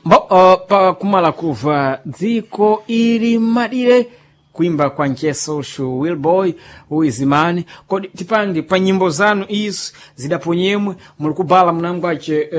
Mbo pa kumala kuva dziko ili madire kuimba kwa ncheso shu Wilboy uizimani. Kodi tipange pa nyimbo zanu izi zidaponyemwe muli kubala mnangwace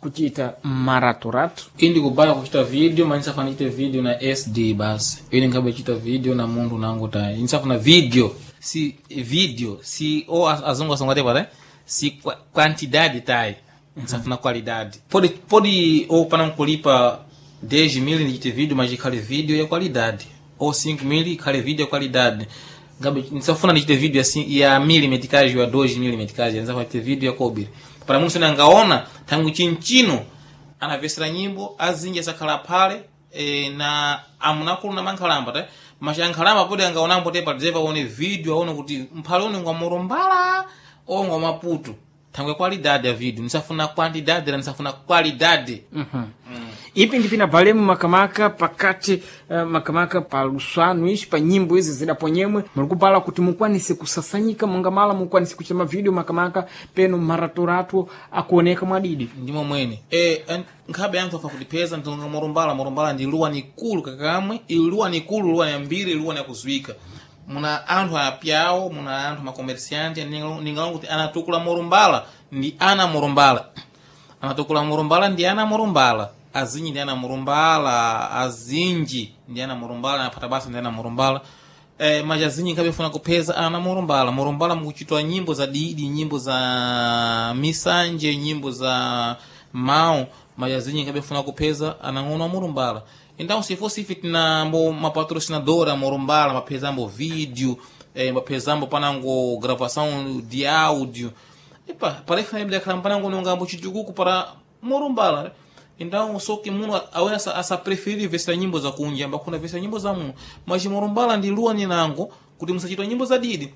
kuchita maraturatu? Indi kubala kuchita video, mas nisafuna chite video na SD basi. Ine ngabe chita video na mundu nangu tayi nisafuna video si video si o azungu asongate pale si quantidade tayi, nisafuna qualidade. Pode ou para não kulipa 10 mil ndichite video, mas ikhale video ya qualidade, ou 5 mil ikhale video ya qualidade. Ngabe nisafuna ndichite video ya milimetricagem ya 2 milimetricagem, nisafuna ndichite video ya kobiri para munthu sene angaona tangu chinchino anavesera nyimbo azinji asakhala phale na amunakulu na mankhalamba ta macha ankhalamba podi angaonambo te padzepa aone video aone kuti mphale une ngwa Murumbala o ngwa Maputo, thangwe qualidade ya video. Nisafuna quantidade la nisafuna qualidade. Ipi ndi pinabalemu makamaka pakati makamaka pa luswanu ishi pa nyimbo izi zidaponyemwe muli kubala kuti mukwanise kusasanyika monga mala mukwanise kuchita mavideo makamaka peno maraturatu akuoneka mwadidi? Ndimo mwene nkhabe anthu afa kutipeza ntonga Murumbala. Murumbala ndi luwa nikulu kakamwe, ili luwa nikulu, luwa yambiri, luwa yakuzwika. Muna anthu apyawo, muna anthu makomersianti ningalonga kuti anatukula Murumbala ndi ana Murumbala, anatukula Murumbala ndi ana Murumbala, azinji ndi ana Murumbala, azinji ndi ana Murumbala, anaphata basa ndi ana Murumbala. Maja azinji nkhabe funa kupeza ana Murumbala. Murumbala mukuchitwa nyimbo za didi, nyimbo za misanje, nyimbo za mawu, maja azinji nkhabe funa kupeza anang'ono a Murumbala. Então se fosse ife tinambo mapatrocinador a Murumbala mapezambo vídeo, mapezambo panango gravação de áudio. Epa, parece que akhala panango nongambo chitukuku para Murumbala. Então só que muno awena asa preferir vesera nyimbo za kunja mbakuna vesera nyimbo za muno, mas Murumbala ndi luwa ninango kuti musachitwa nyimbo za didi,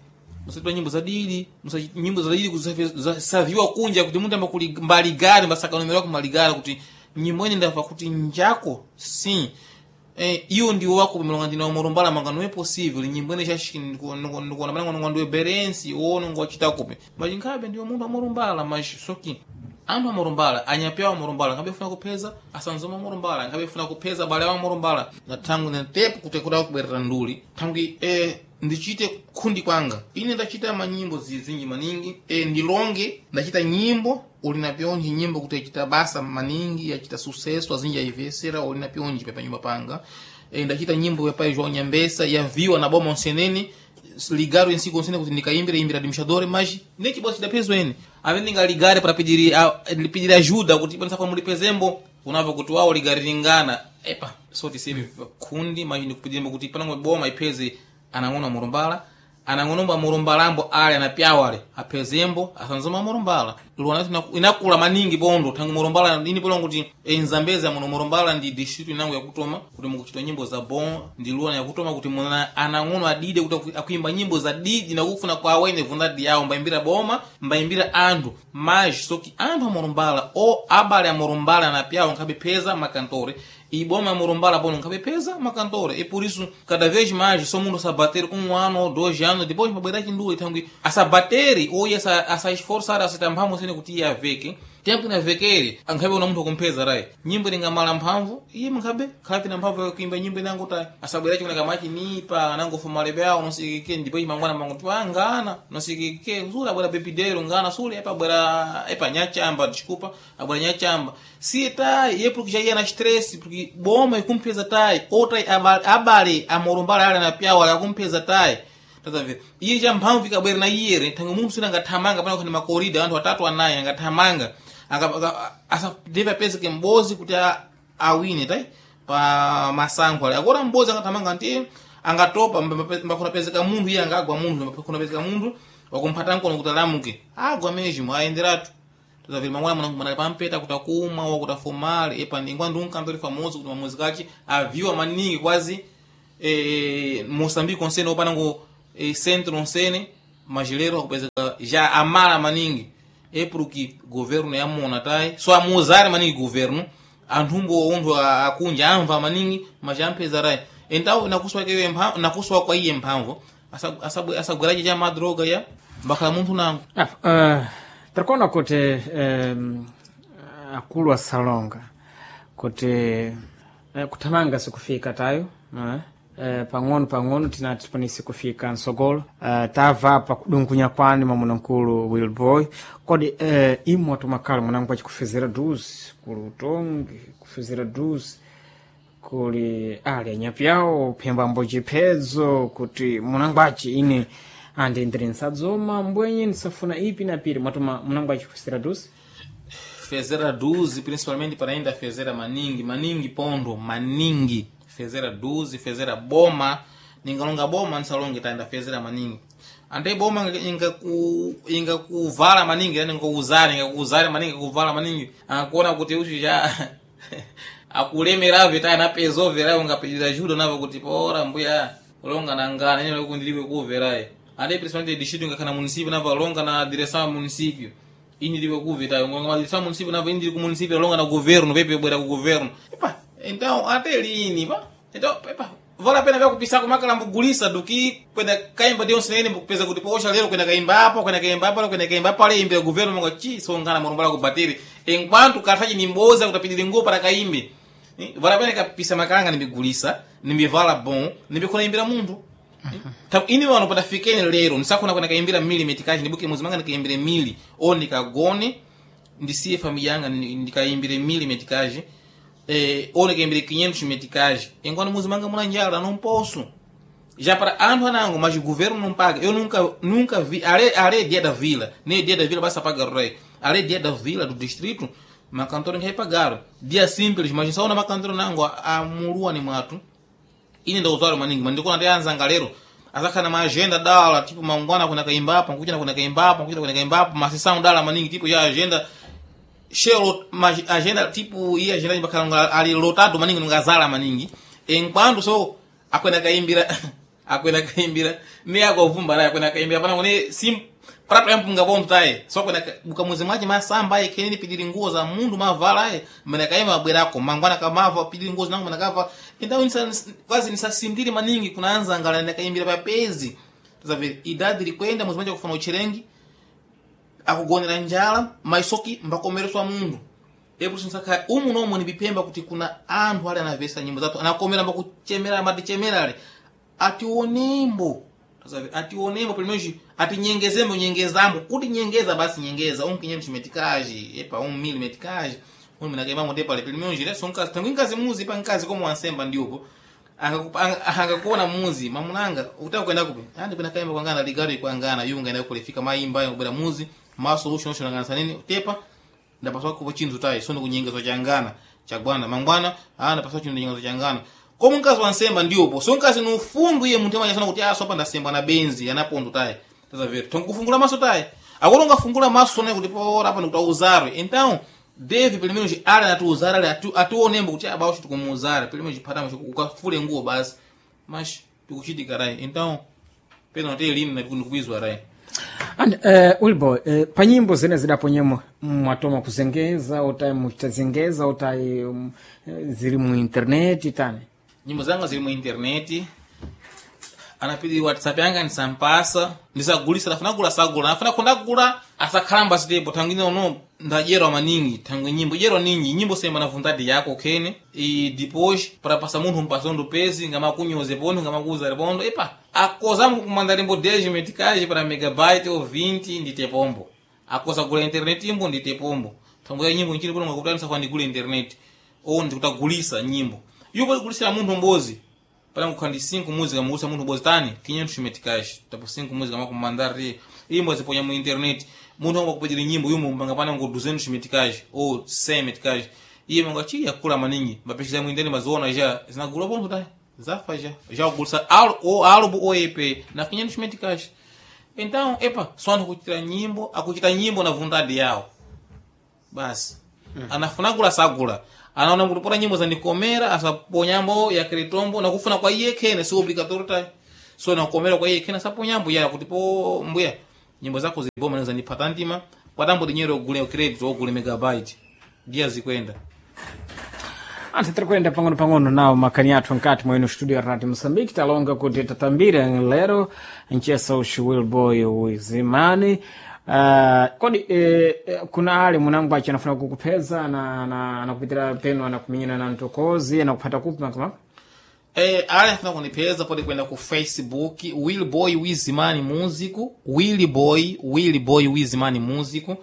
musachitwa nyimbo za didi, nyimbo za didi kusaviwa kunja kuti munthu ambakuli mbaligari mbasakanomera kumaligari kuti nyimbo ine ndamva kuti njako sim. Iyo ndiwo wako milonga ndina Murumbala manga não é possível nyimbo ine ndikuona panango nonga ndiwe berensi ou nonga wachita kupi, mas nkhabe ndiwe munthu wa Murumbala. Mas só que anthu a Murumbala anyapewa Murumbala nkhabe funa kupeza asanzoma Murumbala nkhabe funa kupeza bale wa Murumbala na thangu na tepo kuti kuda kubwerera nduli thangu ndichite khundi kwanga. Ine ndachita manyimbo zizinji maningi, ndilonge ndachita nyimbo uli na pyonji nyimbo kuti yachita basa maningi, yachita sucesso, azinji aivesera uli na pyonji pa nyumba panga. Ndachita nyimbo ya pai João Nyambesa yaviwa na boma onsenene ligaro ensi konsene kuti ndikaimbira imbira administrador, mas nechibosi chidapezwa ene amene ndingaligare para pedir pedir ajuda kuti panisafa mulipezembo unavo kuti wawo ligare lingana epa so tisebe kundi, mas ndikupidirembo kuti panango boma ipeze anang'ono Murumbala, anang'onomba Murumbalambo ale anapyawo ale apezembo asanzoma Murumbala luwana inakula maningi bondo tangu Murumbala ini polongo kuti enzambeza muno Murumbala ndi district inango yakutoma kuti mukuchita nyimbo za bon ndi luwana yakutoma kuti muna anang'ono adide kuti akuimba nyimbo za didi nakufuna kwa awene vundadi yawo mbaimbira boma mbaimbira anthu, mas soki anthu a Murumbala o abale a Murumbala anapyawo nkhabe peza makantore iboma Murumbala bono nkhabe peza makantore e por isso cada vez mais só mundo sabater um ano ou 2 anos depois mabwera chinduli thangwi asabatere ou asa esforçar asita mphamvu sene kuti iye aveke tempo inavekere ankhabe una munthu akumpeza rai nyimbo ingamala mphamvu iye mnkhabe khabe na mphamvu yakuimba nyimbo inango ta asabwera chikuna kamachi nipa anangofuma lebe awo nosikike ndipo chimangwana mango tu angana nosikike sule abwera bebidero ngana sule epa abwera epa nyachamba desculpa abwera nyachamba siye tai iye porque já ia na stress porque boma ikumpeza tai outra abale amorumbala ale na pyawo ale akumpeza tai. Tazamve iye cha mphamvu ikabwera na iyere thange munthu sina angathamanga pana kukhani makorida anthu atatu anayi angathamanga deve apezeke mbozi kuti awine tai pa masankho ale akora mbozi angathamanga nti angatopa mbakunapezeka munthu iye angagwa munthu mbakunapezeka munthu wakumphata mkono kuti alamuke agwa mesmo ayenderatu. Tazaviri mangwana mwana pampeta kuti akumwa wakuti afumale epa ndingwa ndi unkantori famoso kuti mamuzi kachi aviwa maningi kwazi Moçambique konsene opanango centro onsene majilero akupezeka já amala maningi é porque governo yamona tai só amuzare maningi governo anthumbo unthu akunja amva maningi mas ampeza rai. Então nakuswa kewe nakuswa kwa iye mphamvu asagwerache cha madroga ya mbakhala munthu nango. Takuona kuti akulu asalonga. Kuti kuthamanga sikufika tayo, pang'ono pang'ono tinati tipanise kufika msogolo. Tava pa kudungunya kwani mwamuna mkulu Wilboy. Kodi imwe atumakhala mwanangu achikufezera duzi kuli utongi, kufezera duzi kuli ali anyapyawo phembambo chiphedzo, kuti munangwachi ine andi ndiri nsadzoma mbwenye ndisafuna ipi na piri, mwatuma munangu achikufezera duzi? Fezera duzi principalmente para ainda fezera maningi maningi pondo maningi, fezera duzi, fezera boma. Ningalonga boma nsalonge taenda fezera maningi ande boma ingakuvala maningi, yani ingakuuzare, ingakuuzare maningi, ingakuvala maningi, angakuona kuti uchu cha akulemeravyo taye napezoverayo, ungapedira judo navo kuti pora mbuya longa nangana ine kundiliwe kuveraye. Ande principalmente distrito ingakhala município navo longa na direção ya município, ini liwe kuve tayo ngonga madireção município navo indi ku município longa na governo pepe bwera ku governo. Epa, então até lini pa? Então epa, vale a pena vya kupisa kumakala mbugulisa duki kwenda kaimba dionse nene mbukupeza kuti posha lero kwenda kaimba apo, kwenda kaimba apo, kwenda kaimba apo, ale imbira governo monga chi songana murumbala kubatiri enquanto kafaji nimboza kutapidira nguo para kaimbe. Vale a pena kapisa makalanga nimbigulisa, nimbivala bon, nimbikona imbira munthu. Ini wano patafikeni lero nisakuna kwenda kaimbira mili metikaji, ndibuke muzi manga ndikaimbire mili o ndikagone ndisiye familia yanga, ndikaimbire mili metikaji, o ndikaimbire 500 metikaji enquanto muzi manga muna njala, não posso já para anthu anango, mas o governo não paga. Eu nunca vi ale dia da vila, nem dia da vila basta pagar rei, ale dia da vila do distrito makantora ngai pagaram dia simples, mas só na makantora nango a murua ni mwatu. Ine ndauzwalo maningi mandikona ndi anzanga lero azakhala na maagenda dala, tipo mangwana kuna kaimba apa, nkuchina kuna kaimba apa, nkuchina kuna kaimba apa, masisão dala maningi, tipo ya agenda shelo ma agenda, tipo iya agenda ibakhala ali lotado maningi, ngazala maningi, enquanto so akwenda kaimbira, akwenda kaimbira ne akovumba naye akwenda kaimbira pana kune sim prato yampunga ponto taye so akwenda bukamuzi mwache masamba aye kenene pidiri nguo za mundu mavala aye mene kaima abwerako mangwana kamava pidiri nguo zinango mene kava. Então quase nisasindiri maningi kunaanza ngala ndakaimbira papezi tazavere idadi likwenda muzi mwache kufana uchirengi akugonera njala maisoki mbakomereswa mundu epo sinsakha umu nomwe nipipemba kuti kuna anthu ali anavesa nyimbo zathu anakomera mbakuchemera amatichemera ale ationembo. Tazavere ationembo pelo menos atinyengezembo, nyengezambo kuti nyengeza basi nyengeza um 500 metikaji epa 1000 metikaji um minakaimamo tepale pelo menos leso nkazi tangu nkazi muzi pa nkazi como ansemba ndiupo angakuona muzi mamunanga utaka kwenda kupi andi kwenda kaimba kwangana ligari kwangana yunga enda kulifika maimba yobera muzi ma solution solution ngana nini tepa ndapaswa kupo chinthu tayi sono kunyengezo changana chagwana mangwana ndapaswa chinthu nyengezo changana komo mkazi wansemba ndiyopo so mkazi nufundu iye munthu amanyasana kuti aso apa ndasemba na benzi anapondo tayi tazavera tonkufungula maso tayi akolo ungafungula maso sone kuti pora apa ndikuti auzarwe. Então deve pelo menos ali anatiuzara ali ationembo kuti abawo tikumuuzara pelo menos phatamo ukafule nguo basi mas tikuchitika rai. Então pena te lini na ndikubizwa rai. And Wilboy, pa nyimbo zene zidaponyemo mwatoma kuzengeza utai muchitazengeza utai ziri mu internet tani? Nyimbo zanga ziri mu interneti anapidi WhatsApp yanga nisampasa ndisagulisa, nafuna gula sagula nafuna kundagula asakhalamba sitepo thangwine uno ndadyerwa maningi thangwe nyimbo dyerwa ninji nyimbo semba na vontade yako khene e depois para passa munthu mpasondo pezi ngamakunyoze pondo ngamakuuza pondo epa akozamu kumanda limbo 10 meticais para megabyte ou 20 ndite pombo akoza gula internet imbo ndite pombo thangwe ya nyimbo nchini pono ngakuti ndisafuna ndigule internet ou ndikutagulisa nyimbo yupo kugulisira munthu mbozi para kukhandi 5 música mugusa munthu mbozi tani 500 meticais tapo 5 música makumandari imbo ziponya mu internet munthu angakupedera nyimbo yumo mpanga pana ngo 200 meticais ou 100 meticais iye manga chi yakula maningi mapesha mu internet maziona já zinagula ponto tá zafa já já gulsa o álbum ou EP na 500 meticais. Então epa só anthu akuchita nyimbo akuchita nyimbo na vontade yawo basi. Anafuna gula sagula anaona kuti pora nyimbo zandikomera asaponyambo yakritombo nakufuna kwa iye khene si obligatório ta so nakomera kwa iye khene asaponyambo ya kuti po mbuya nyimbo zako ziboma zandiphata ntima kwatambo dinyero ogule credit ogule megabyte ndiye zikwenda. Anthu tiri kuyenda pang'ono pang'ono nawo makhani athu nkati mwenu studio ya Radio Moçambique talonga kuti tatambira lero nchesa uxi Wilboy wizimani. Kodi kuna ale munango achi anafuna kukupeza na anakupitira peno anakumenyana na mtokozi anakupata kupi makamaka? Ale afuna kunipeza pode kwenda ku Facebook Willboy Wizimani Músico, Willboy Wizimani Músico.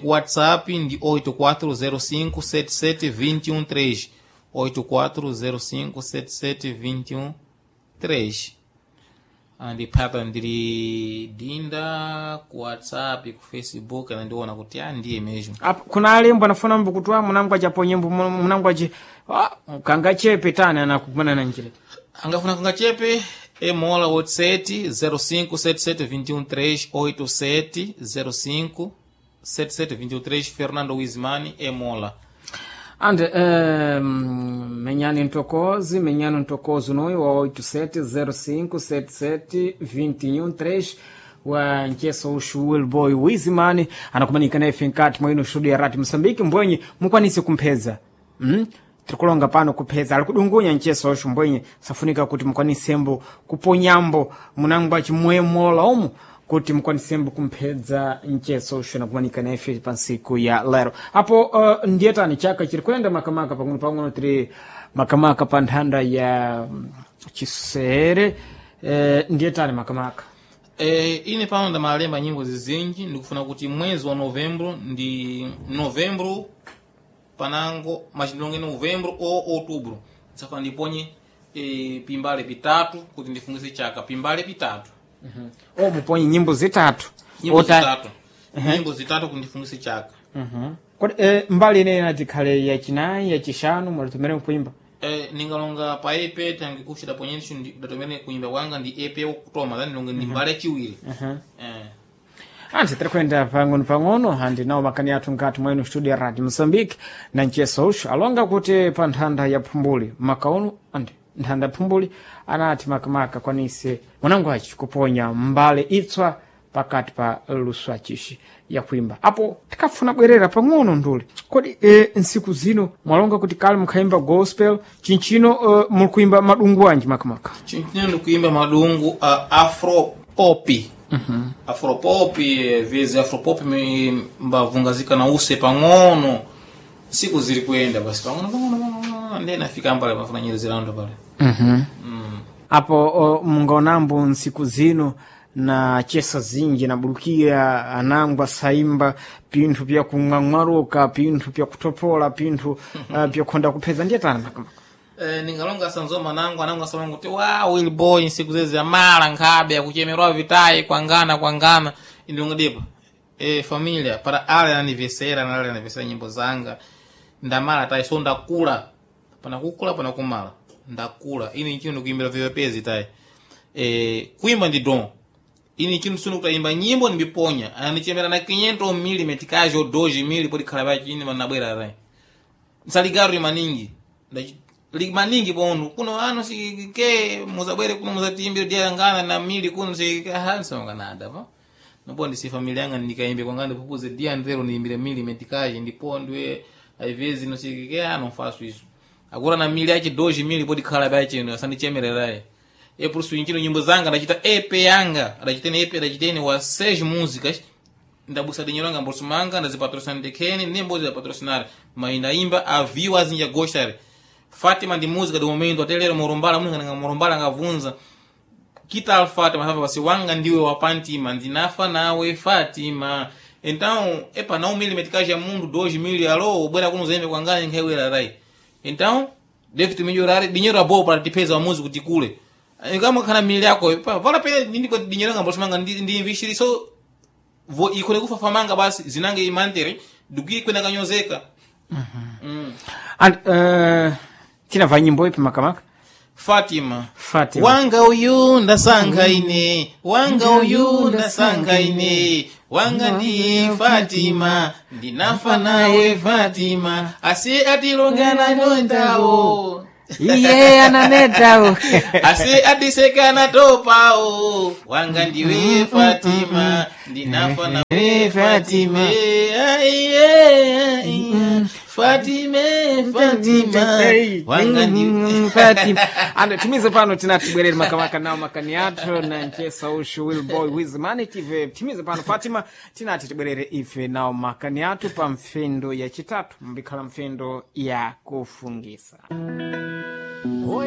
Ku WhatsApp ndi 84057721 84057721 andipata ndili dinda ku WhatsApp, ku Facebook anandiona kuti ndiye mesmo. Apo, kuna alembo anafuna mbukutwa munango achapo nyimbo munango achi kangachepe tani anakumana na njira. Angafuna kangachepe emola 87 05 77 21 3 87 05 77 23 Fernando Wizmani emola. Ande menyani ntokozi menyani ntokozi unoyu wa 87057721 wa ncheso ushu Willboy Wizimani anakumanika naye finkati mwaino studio ya rati Msambiki mbwenye mukwanise kumpheza. Tirikulonga pano kupheza ali kudungunya ncheso ushu mbwenye safunika kuti mukwanisembo kuponyambo munango achimwemola umu kuti mukwanisembo kumphedza mcheso ushu nakumanika naye pa nsiku ya lero. Apo ndiyetani chaka chiri kuyenda makamaka pang'ono pang'ono tiri makamaka pa nthanda ya chisere ndiyetani makamaka. Ine pano ndamalemba nyimbo zizinji ndikufuna kuti mwezi wa novembro ndi novembro panango machindonge novembro ou outubro safuna ndiponye pimbale pitatu kuti ndifungise chaka pimbale pitatu. O muponye nyimbo zitatu. Nyimbo zitatu. Nyimbo zitatu kuti ndifungise chaka. Kodi mbali ineyi inatikhale yachinayi yachishanu mwalitumire nkuimba? Ningalonga pa EP tangi kuchita ponyenso ndatomene kuimba kwanga ndi EP wokutoma then ndilonge ndi mbali yachiwiri. Anti tiri kuyenda pang'ono pang'ono andi nawo makani athu nkati mwenu studio ya radio Mosambike na mcheso ushu alonga kuti pa nthanda ya phumbuli makaunu andi nthanda ya phumbuli anati makamaka kwanise mwanangu achi kuponya mbale itswa pakati pa luso achishi yakuimba. Apo tikafuna bwerera pang'ono nduli kodi nsiku zino mwalonga kuti kale mukhaimba gospel chinchino muli kuimba madungu anji makamaka? Chinchino ndikuimba madungu a afro pop. Afropop vezi afropop mbavungazika na use pang'ono siku ziri kuyenda basi pang'ono pang'ono pang'ono ndiye nafika mbale pafuna nyerezerando pale. Apo mungaonambo nsiku zino na chesa zinji nabulukira anangwa saimba pinthu pya kung'ang'waruka pinthu pya kutopola pinthu pyakhonda kupheza ndiye tani makamaka? Ningalonga sanzoma nangu anangu asalonga kuti wa Willboy nsiku zezi amala nkhabe akuchemerwa vitayi kwangana kwangana indilonga dipa familia para ale ananivesera na ale ananivesera nyimbo zanga ndamala tayi so ndakula pana kukula pana kumala ndakula ini nchino ndikuimbira vyapezi tayi kuimba ndi don ini chino sino kutaimba nyimbo nimbiponya ananichemera na 500 mili metikajo 2 mili podi khala pachini manabwera tayi nsaligaro maningi maningi pondu kuno ano sike muzabwere kuno muzatimbire diangana na mili kuno sike nada pa nopo ndisi familia yanga ndikaimbe kwanga ndipupuze dia ndero niimbire mili metikaje ndipondwe aivezi no sike ano faço isso agora na mili achi 2 mili podi khala bachi asandichemereraye e por isso inchino nyimbo zanga ndachita EP yanga ndachitene EP ndachitene wa 6 músicas ndabusa dinheiro anga mbolso manga ndazipatrocinar ndekene nem bozi patrocinar mas ndaimba a view azinja gostare Fátima ndi música do momento até lero murumbala munhu nga murumbala ngavunza kita Fátima sabe basi wanga ndiwe wapantima ndinafa nawe Fátima então epa não mili meticagem mundo 2 mil alo bwera kuno zembe kwangani nkhewera rai então deve te melhorar dinheiro a boa para te pesa a música te kule kama kana mili yako pa vala pena ndiko dinheiro nga mbolso manga ndi investir so vo ikone kufa famanga basi zinange imantere duki kwenda kanyozeka. And tinabva nyimbo ipi makamaka? Fatima. Fatima. Wanga uyu ndasanga ine wanga uyu ndasanga ine wanga ndiye Fatima ndinafa nawe Fatima asi atilongana nondawo iye ananetawo asi atisekana topawo wanga ndiwe Fatima ndinafa nawe Fatima. Aiye, aiye. Fatime, Fatima, wanga ndi Fatima. Ando timize pano tinatibwerere makamaka nawo makani athu na nchesa ushu Willboy Wizmani tive timize pano Fatima tinati tibwerere ife nawo makani athu pa mfendo ya chitatu mbikhala mfendo ya kufungisa. Oya.